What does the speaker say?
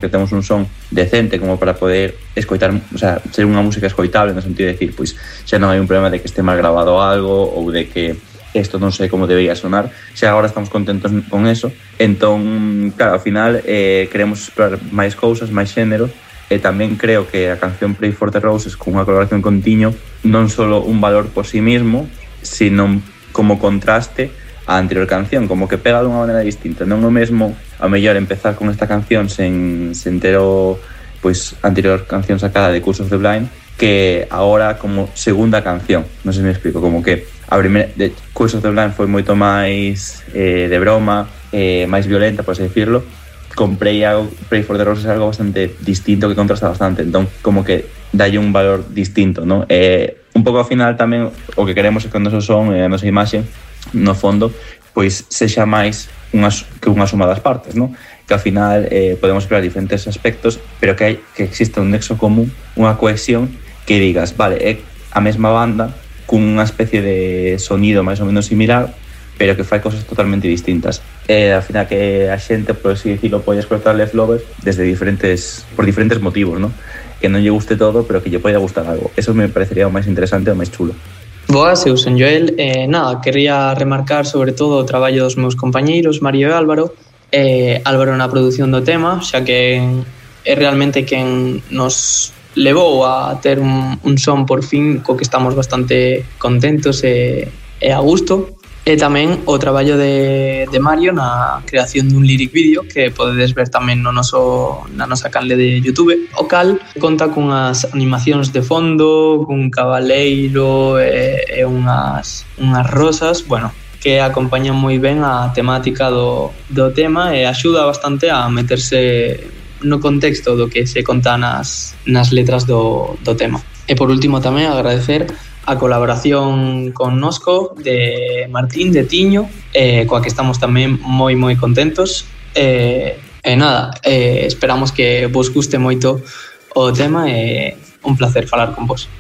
que temos un son decente como para poder escoitar, o sea, ser unha música escoitable no sentido de decir, pois xa non hai un problema de que este mal grabado algo ou de que isto non sei como debería sonar, xa agora estamos contentos con eso. Entón, claro, ao final queremos explorar máis cousas, máis xéneros, e tamén creo que a canción Pray for the Roses con unha colaboración con Tiño non só un valor por sí mismo, sino como contraste a anterior canción, como que pega de unha maneira distinta. Non é o mesmo, a mellor, empezar con esta canción sen ter o anterior canción sacada de Curse of the Blind, que agora como segunda canción. Non sei se me explico, como que a primeira de Curse of the Blind foi moito máis de broma, máis violenta, por así decirlo. Con Pray for the Roses é algo bastante distinto, que contrasta bastante, entón como que dalle un valor distinto, non? Un pouco ao final tamén o que queremos é que o noso son e a nosa imaxe no fondo, pois sexa máis que unha suma das partes, non? Que ao final podemos explorar diferentes aspectos, pero que existe un nexo común, unha cohesión que digas, vale, é a mesma banda cunha especie de sonido máis ou menos similar, pero que fai cosas totalmente distintas. Ao final que a xente, por así dicirlo, pode escoitar Left Lovers por diferentes motivos, non? Que non lle guste todo, pero que lle pode gustar algo. Eso me parecería o máis interesante e o máis chulo. Boas, eu son Joel. Nada, quería remarcar sobre todo o traballo dos meus compañeiros, Mario e Álvaro. Álvaro na produción do tema, xa que é realmente quen nos levou a ter un son por fin co que estamos bastante contentos e a gusto. E tamén o traballo de Mario na creación dun lyric video que podedes ver tamén na nosa canle de YouTube, o cal conta cunhas animacións de fondo, cun cabaleiro e unhas rosas, bueno, que acompañan moi ben a temática do tema e axuda bastante a meterse no contexto do que se conta nas letras do tema. E por último tamén agradecer a colaboración connosco de Martín, de Tiño, coa que estamos tamén moi contentos. Nada, esperamos que vos guste moito o tema e un placer falar con vos.